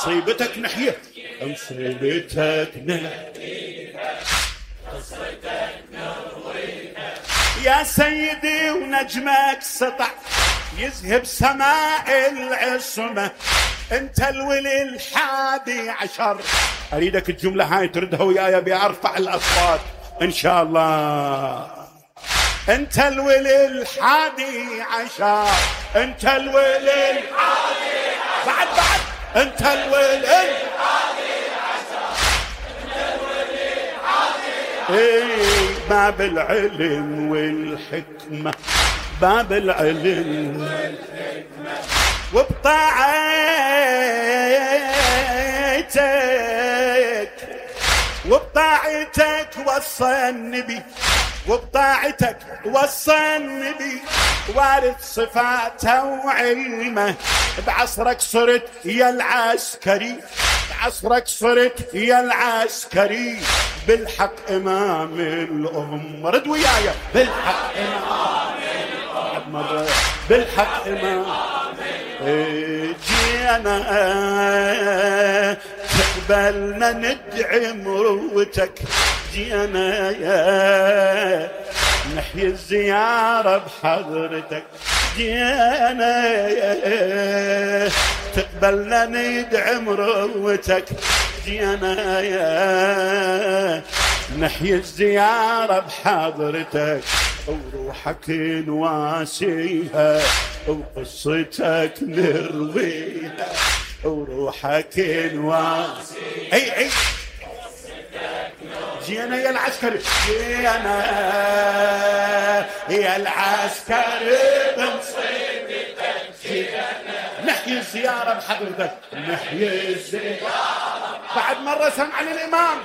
مصيبتك نحية مصيبتك يا سيدي ونجمك سطع يذهب سماء العصمة، انت الولي الحادي عشر. اريدك الجملة هاي تردها وياي بأرفع الاصوات ان شاء الله. انت الولي الحادي عشر، انت الولي الحادي عشر، بعد انت الولي الحادي عشر، انت الولي الحادي عشر. باب العلم والحكمة، باب العلم والحكمة، وبطاعتك وصى النبي، وبطاعتك وصى النبي وارث صفاته وعلمه. بعصرك صرت يا العسكري، بعصرك صرت يا العسكري، بالحق إمام الأمة. رد وياي بالحق إمام الأمة، بالحق إمام. جينا تقبلنا ندعي مروتك، جينا يا نحيي الزيارة بحضرتك، جينا يا تقبلنا ندعي مروتك، جينا يا نحيي الزيارة بحضرتك، وروحك نواسيها وقصتك نرويها، وروحك نواسيها. اي جينا يا العسكري، جينا يا العسكري بمصيبتك، جينا نحيي الزيارة بحضرتك، نحيي الزيارة. بعد مرة سمع الإمام.